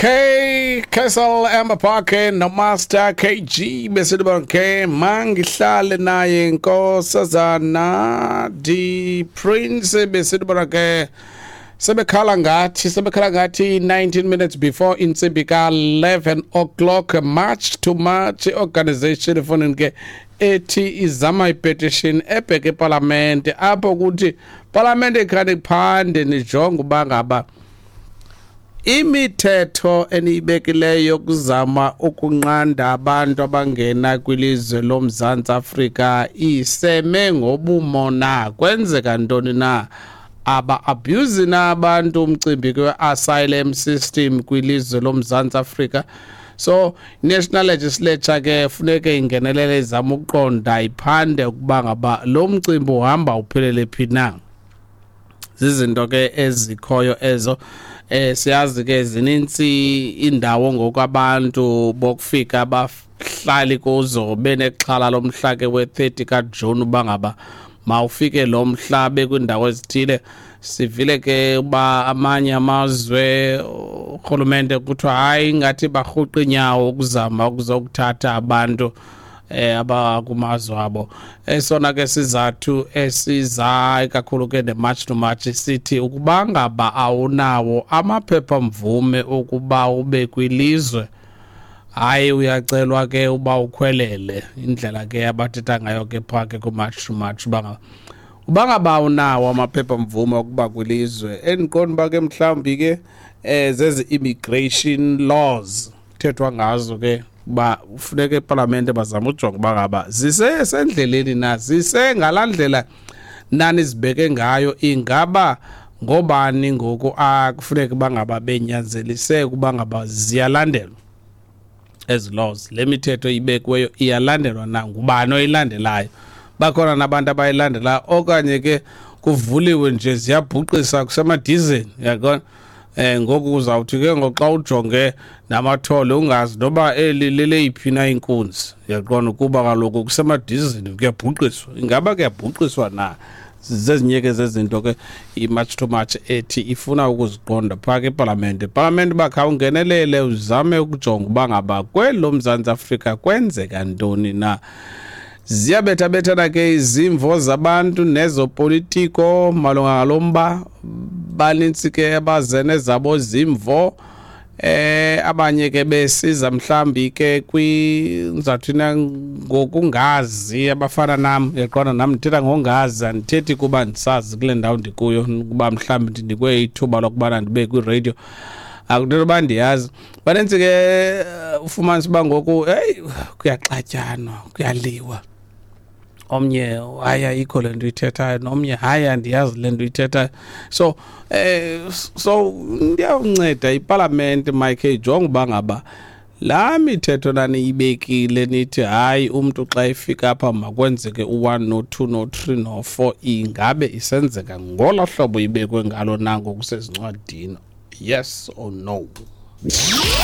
Okay, Castle Amber Park noMaster KG besithi bonke mangihlale naye nkosazana D Prince besithi bona ke sebekhala ngathi sebekhala ngathi 19 minutes before intsimbi ka-11 o'clock. March to March organization efonini ke ethi izama ipetition ebheke epalamente apho kuthi palamente ikhani phande nijonge uba ngaba imithetho eniyibekileyo yokuzama ukunqanda abantu abangena kwilizwe loMzantsi Afrika iseme ngobumo na, kwenzeka ntoni na, aba abuse na abantu umcimbi kwe-asylum system kwilizwe loMzantsi Afrika. So national legislature ke funeke ingenelele izama ukuqonda iphande ukuba ngaba lo mcimbi uhamba uphelele phi na. Zizinto ke ezikhoyo ezo. Siyazi ke zinintsi indawo ngokwabantu bokufika abahlali kuzo benexhala lomhla ke we-30 kaJuni uba ngaba mawufike lo mhla bekwindawo ezithile. Sivile ke uba amanye amazwe urhulumente kuthiwa hayi ngathi barhuqa inyawo ukuzama ukuzokuthatha abantu abakumazwe abo. Esona ke sizathu esiza kakhulu ke ne-March to March sithi ukuba ngaba awunawo amaphepha mvume ukuba ube kwilizwe, hayi uyacelwa ke uba ukhwelele. Indlela ke abathetha ngayo ke phaa ke ku-March to March uba ngaba unawo amaphepha mvume okuba kwilizwe, endiqonda uba ke mhlawumbi ke zezi immigration laws kuthethwa ngazo ke uba ufuneka epalamente bazame ujonga uba ngaba zisesendleleni na, zisengalaa ndlela nanizibeke ngayo, ingaba ngobani ngoku akufuneka uba ngaba benyanzelise ukuba ngaba ziyalandelwa ezi laws, le mithetho ibekiweyo iyalandelwa na, ngubani oyilandelayo, bakhona nabantu abayilandelayo okanye ke kuvuliwe nje ziyabhuqisa kusemadizeni, uyaqonda. Ngoku uzawuthi ke ngoxa ujonge namathole ungazi noba eli leleyiphi na inkunzi, uyaqonda, ukuba kaloku kusemadizini kuyabhuqiswa, ingaba kuyabhuqiswa na. Zezinye ke zezinto ke i-March to March ethi ifuna ukuziqonda phaa ke epalamente. Epalamente uba khawungenelele uzame ukujonga uba ngaba kweli loMzantsi Afrika kwenzeka ntoni na. Ziyabethabethana ke izimvo zabantu nezopolitiko malunga ngalo mba, banintsi ke abazene zabo zimvo, abanye ke besiza mhlambi ke kwinzathina ngokungazi, abafana nam, uyaqonda, nam ndithetha ngongazi, andithethi kuba ndisazi kule ndawo ndikuyo, kuba mhlambi ndinikwe ithuba lokubana ndibe kwiradio, akuthethwa uba ndiyazi. Banintsi ke ufumanisa uba ngoku heyi kuyaxatyanwa, kuyaliwa, omnye hayi ayikho le nto uyithethayo, nomnye hayi andiyazi le nto uyithethayo. So so ndiyawunceda ipalamente Mike ijonge uba ngaba laa mithetho naniyibekile nithi hayi umntu xa efika apha makwenzeke u-1 no-2 no-3 no-4, ingabe isenzeka ngolo hlobo ibekwe ngalo na ngokusezincwadini, yes or no?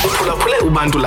Uphulaphule uBantu.